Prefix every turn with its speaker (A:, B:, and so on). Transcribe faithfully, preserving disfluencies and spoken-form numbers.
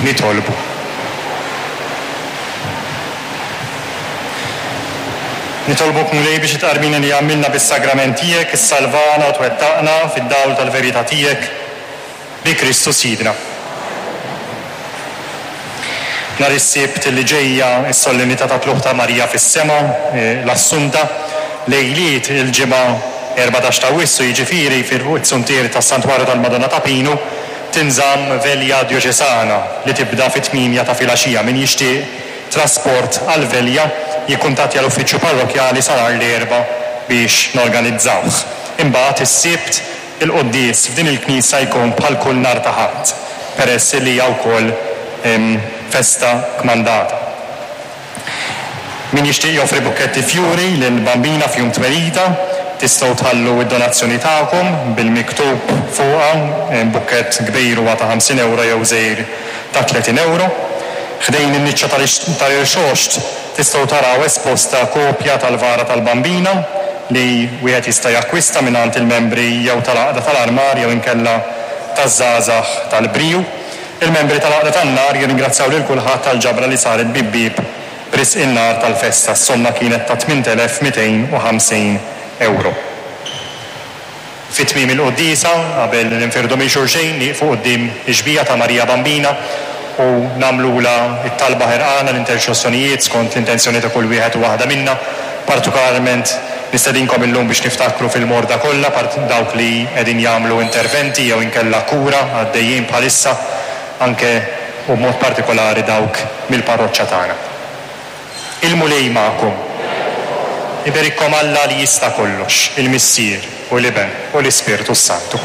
A: Nitolbu. Nitolbuk, Mulej, biex it-tqarbin li għamilna bis-sagrament tiegħek issalvana u twettaqna fid-dawl tal-verità tiegħek bi Kristu Sidna. Nhar is-Sibt li ġejja s-solennità ta' Tlugħ ta' Marija fis-Sema, l-Assunta, lejliet il-Ġimgħa erbatax ta' Awwissu, jiġifieri fil-suntier tas-Santwarju tal-Madonna ta' Pinu, tinżamm velja djoċesana li tibda fit-tmienja ta' filgħaxija. Min jixtieq trasport għall-velja jikkuntattja l-uffiċċju parrokjali sa nhar l-Erbgħa biex norganizzawh. Imbagħad is-Sibt il-quddies f'din il-knisja jkun bħal kull nhar ta' Ħadd, peress li hija wkoll festa kmandata. Min jixtieq joffri bukketti fjuri lill-Bambina f'jum twelidha, tistgħu tħallu d-donazzjoni tagħkom bil-miktub fuqha, bukkett kbir huwa ta' ħamsin euro jew żgħir ta' tletin euro. Ħdejn in-niċċa tal-Irxoxt tistgħu taraw esposta kopja tal-vara tal-Bambina li wieħed jista' jakkwista mingħand il-membri jew tal-Għaqda tal-Armar jew inkella taż-żgħażagħ tal-Briju. Il-membri tal-Għaqda tan-Nar jirringrazzjaw lil kulħadd tal-ġabra li saret bib-bieb b'risq in-nar tal-festa. S-somma kienet ta' tmien elef mitejn u ħamsin euro. Fi tmiem il-quddiesa, qabel ninfirdu minn xulxin, nieqfu quddiem ix-xbieha ta' Marija Bambina u nagħmlulha t-talba ħerqana l-interċessjonijiet skont l-intenzjoni ta' kull wieħed u waħda minna. Partikolarment nistedinkom illum biex niftakru fil-morda kollha, dawk li qegħdin jagħmlu interventi jew inkella kura għaddejjin bħalissa, anke u b'mod partikolari dawk mill-parroċċa tagħna. Il-Mulej magħkom. Iberikkom Alla li jista' kollox, il-Missier u l-Iben u l-Ispirtu s-Santu.